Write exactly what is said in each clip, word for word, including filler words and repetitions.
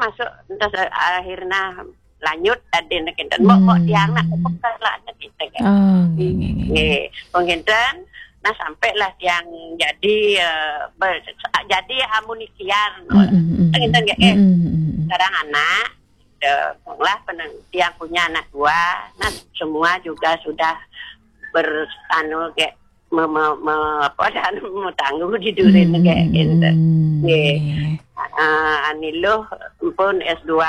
masuk, terus akhirnya lanjut tadi nak kinten. Mbok, mbok tiang nak, hmm, pokok lah ada kita kan. Oh, nggih, nggih, nggih. Nggih, pun kinten, nah, sampailah tiang jadi, eh, ber-, jadi amunikian. Mm, mm, mm, kinten nggih, eh. Mm, mm, mm, mm. Sekarang anak, eh, lah peneng-, tiang punya anak dua, nah, semua juga sudah ber-, anu, kayak me-, me-, me-, apa, dan mau tangguh di durin, hmm, kayak gitu. Hmm, nggih. Nggih. Ah, ani luh pun S dua,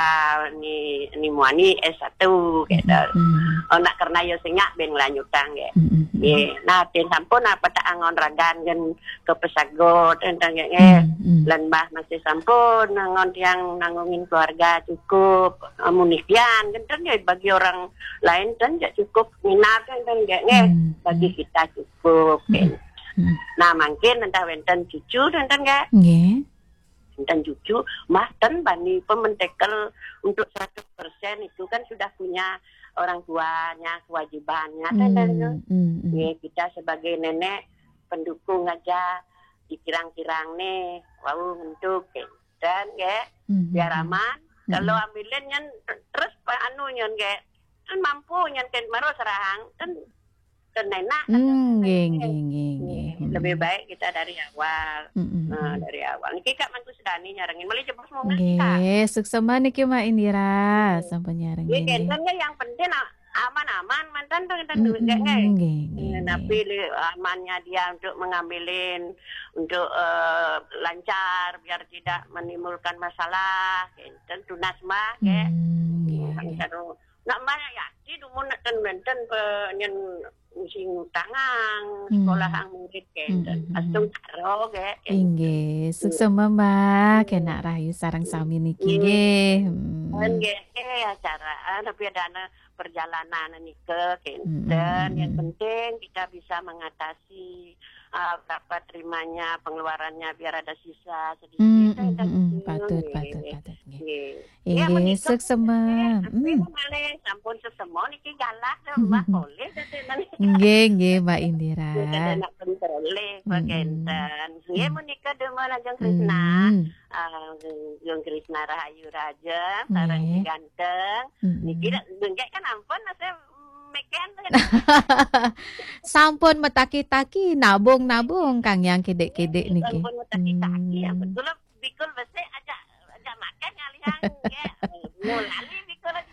ni, ni muani S satu, gitu. Hmm, hmm. Oh, nak karena yo singak ben lanjutang, nggih. Hmm, hmm, hmm. Nggih. Nah, tin sampun apa tak angon ragan kan ke pesagot, enten, nggih. Hmm, hmm. Lan mbah masih sampun angon tiang nanggungin keluarga cukup, amunikian, enten, nggih, bagi orang lain kan ya cukup minat, enten, nggih, nggih. Hmm, bagi, hmm, kita cukup, hmm, kan. Hmm. Nah, mungkin entah wenten cucu, enten, nggih. Nggih. Enten cucu, mah ten bani pementekel untuk seratus persen itu kan sudah punya orang tuanya, kewajibannya, enten, hmm, enten, hmm, hmm. Nggih, kita sebagai nenek pendukung aja, dikirang-kirang nih, wau untuk, kan, nggih. Hmm, hmm, biar hmm, aman. Hmm. Kalau ambilin nyen terus, anu nyen, nggih. Kan mampu nyen, kan, maro serahang, kan, kan enak, kan. Hmm, nggih, nggih, nggih, nggih. Lebih, hmm, baik kita dari awal. Hmm, hmm, nah, hmm, dari awal. Niki Kak mantu sedani nyarengin. Malih jebos mau nggih, Kak. Nggih, suksema niki Mbak Indira, nggih, sampun nyarengin, nggih, nggih. Kenten nggih, yang penting a-, aman-aman, mantan tuh, kan, hmm, duit, nggih, nggih. Nggih, nggih, nggih. Tapi li-, amannya dia untuk mengambilin, untuk, eh, lancar, biar tidak menimbulkan masalah, kenten tunas mah, nggih. Hmm, nggih, nggih. Kan, nak mbah ya, di dumun nak ten wenten pe-, nyen sing tangang, hmm, sekolah ang murid, kenten. Hmm, hmm, hmm. Astung karo, nggih, kenten. Inggih, suksema, Mbak. Hmm. Kena rahayu sareng sami niki, nggih, nggih. Hmm. Nggih, eh, acara, ah, tapi ada anak perjalanan nika, kenten. Hmm, hmm, hmm. Yang penting kita bisa mengatasi, ah, berapa terimanya, pengeluarannya, biar ada sisa sedikit. Hmm, hmm, hmm, hmm. Patut, nggih, patut, patut, nggih. Nggih. Ya, inggih, menika suksema. Nggih, hmm, malih sampun sesema niki galah to, hmm, Mbak, hmm, hmm, boleh dadi nang. Nggih, nggih, Mbak Indira. Nggih, dadi nak pun boleh, hmm, kenten. Nggih, hmm, menika demen ajeng Krisna. Hmm. Ah, Jung Krisna Rahayu Raja, sareng, nggih, si ganteng. Hmm. Niki dak, nggih, kan ampun, saya meken. Sampun metaki-taki, nabung-nabung, Kang Yang kidik-kidik niki. Sampun metaki-taki, ya, hmm, betul. Bikul besik aja, aja makan ngalihang, ya. Mulali bikul aja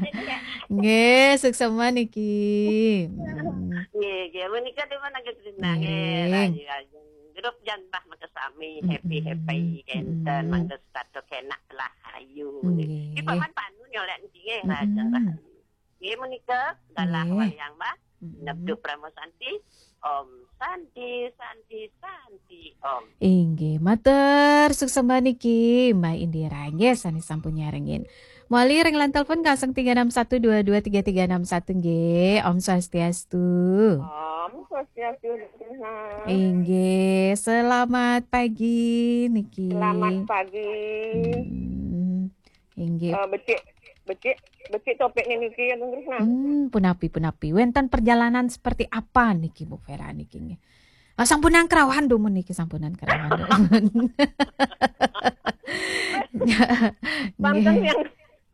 bilang, ya. Nggih, suksema niki. Hmm. Nggih, nggih, menika demen ajeng Krisna, nggih, nggih. Rahayu, rahayu. Grup jan bah maka sami, mm-mm, happy-happy, kenten, mm-mm, mangga setata kenak lah, ayu. Nggih. Ki paman panu nyolek niki, nggih, mm-mm, raja, rahayu. Nggih, menika galah, nggih, wayang, Mbah. Mm-mm. Nebdu Prama Santi. Om Santi, Santi, Santi, Om. Inggih, matur suksema niki, Mbak Indira, nggih, sane sampun nyarengin. Mawali ring line telepon kosong tiga enam satu dua dua tiga tiga enam satu, nggih. Om Swastiastu. Om Swastiastu, Krisna. Inggih, selamat pagi niki. Selamat pagi. Hmm, inggih. Eh, becik, becik, becik topik niki, Agung Krisna. Hmm, punapi, punapi. Wenten perjalanan seperti apa niki, Bu Vera niki, nggih? Ah, sampun nang kerawan dumun niki, sampun nang kerawan dumun. Pangkeng, nggih, yang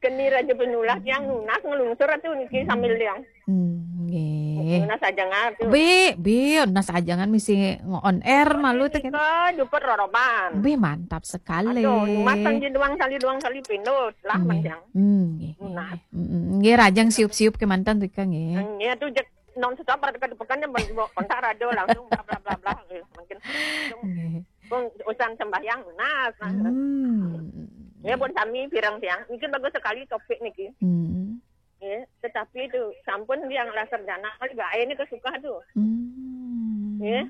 keni raja penulah, yang nunas ngelungsur atu niki sambil yang. Hmm, nggih. Nunas aja ngatu. Bi, bi, nunas aja ngan misi nge-on air malu teh kan. Nika juput roroban. Bi, mantap sekali. Aduh, numas sanji doang, sali doang, sali pindut lah, nggih, Mas, yang. Hmm, nggih, nunas. Nggih. Mm, mm. Nggih, rajang siup-siup kemanten tuh, Kang, nggih. Hmm, ya tuh, jek non stop pada ke depan yang mau kontak radio langsung bla bla bla bla, eh, mungkin langsung, nggih, pun urusan sembahyang, nah, nah. Hmm. Ya, pun sami pirang tiang. Mungkin bagus sekali topik niki. Hmm. Ya, tetapi itu sampun yang lah sarjana kali gae ini kesuka tuh. Hmm. Ya.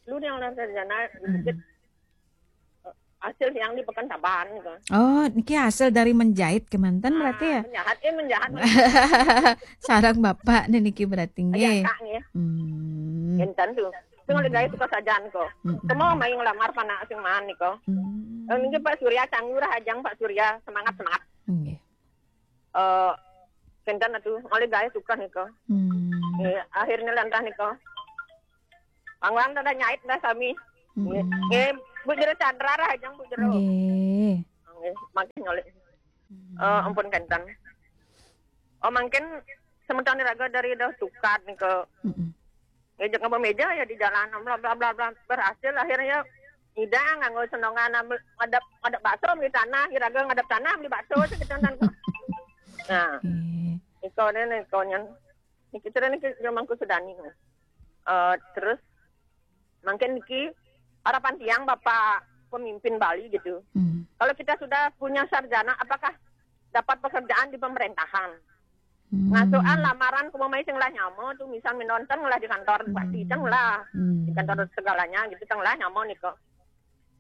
Lu yang lah sarjana, hmm, dikit hasil yang di Pekan Taban gitu. Oh, niki hasil dari menjahit kemanten berarti ya? Ah, menjahat, eh, menjahat. Sarang bapak nih niki berarti nggih. Kak, nggih. Hmm. Enten tuh. Tapi oleh gawe suka sajan kok. Mm-mm. Semua main ngelamar panak sing man niko. Hmm. Eh, niki Pak Surya, canggur ajang Pak Surya, semangat, semangat. Nggih. Eh, kenten atuh, oleh gawe suka niko. Hmm. Eh, akhirnya lantah niko. Pangwang tada nyait dah sami. Hmm. Eh, Bu Jero Chandra rah ajang Bu Jero. Nggih. Makin nyolek. Eh, ampun kenten. Oh, mangkin semeton iraga dari dah tukad nih ke ngejek ngemeja ya di jalan, bla bla bla bla. Berhasil akhirnya ida nganggo senongan ngadep ngadep bakso beli tanah, iraga ngadep tanah beli bakso sekitu kan. Nah, iko deh nih, iko nyen. Niki cerita niki zaman Kusudani. Eh, terus mungkin niki harapan tiang Bapak pemimpin Bali gitu. Kalau kita sudah punya sarjana, apakah dapat pekerjaan di pemerintahan? Ngasuhan lamaran kumamai sing lah nyama tuh, misal minonten lah di kantor bupati, teng lah di kantor segalanya gitu, teng lah nyama niko.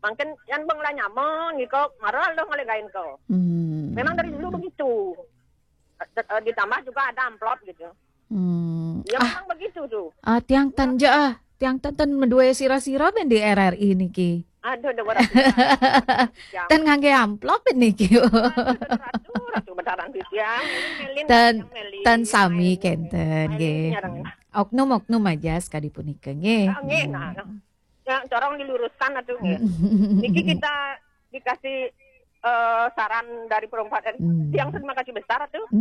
Mungkin yang beng lah nyama niko, marah lo ngelegain ko. Memang dari dulu begitu. Eh, ditambah juga ada amplop gitu. Ya, memang begitu tuh. Ah, tiang tan ja ah. Tiang tan tan medue sira-sira ben di R R I niki. Aduh, udah berat. Tan ngangge amplop ben niki. Aduh, ratu, ratu bedaran di tiang. Melin, tan melin, tan sami melin, kenten melin, nggih. Nyarang. Oknum-oknum aja sekali punika nggih. Ah, nggih, nah, nah. Ya, tolong diluruskan atuh nggih. Niki kita dikasih eh, saran dari perempat R I. Yang terima kasih besar tuh.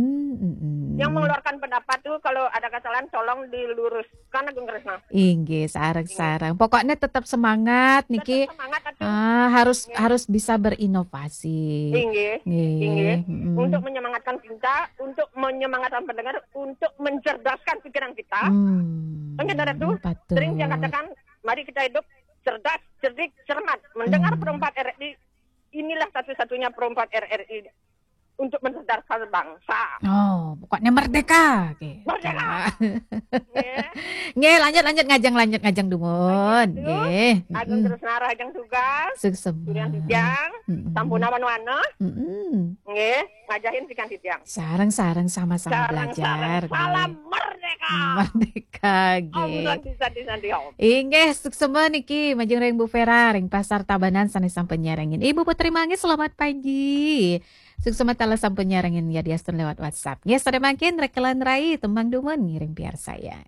Yang mengeluarkan pendapat tuh kalau ada kesalahan tolong diluruskan, Agung Kresna. Inggih, sareng-sareng. Pokoknya tetap semangat niki. Tetap semangat atuh. Ah, harus harus bisa berinovasi. Inggih. Inggih. Untuk menyemangatkan kita, untuk menyemangatkan pendengar, untuk mencerdaskan pikiran kita. Kan kita tuh sering saya katakan, mari kita hidup cerdas, cerdik, cermat. Mendengar perempat R I, inilah satu-satunya perempat R R I untuk mencerdaskan bangsa. Oh, pokoknya merdeka. Oke. Merdeka. Nggih. Nggih, lanjut lanjut ngajeng lanjut ngajeng dumun. Nggih. Agung terus narah ajeng tugas. Sukses. Sampunawan wana. Nggih, ngajahin sikan titiang. Sareng-sareng sama-sama belajar. Salam merdeka. Merdeka nggih. Om Santi Santi Santi Om. Inggih, suksema niki majeng ring Bu Vera ring Pasar Tabanan sané sampun nyarengin. Ibu Putri Manggis, selamat pagi. Suksema taler sampun nyarengin ya diastun lewat WhatsApp. Nggih, sadaya mangkin rekelan rai tembang dumun ngiring piarsayang.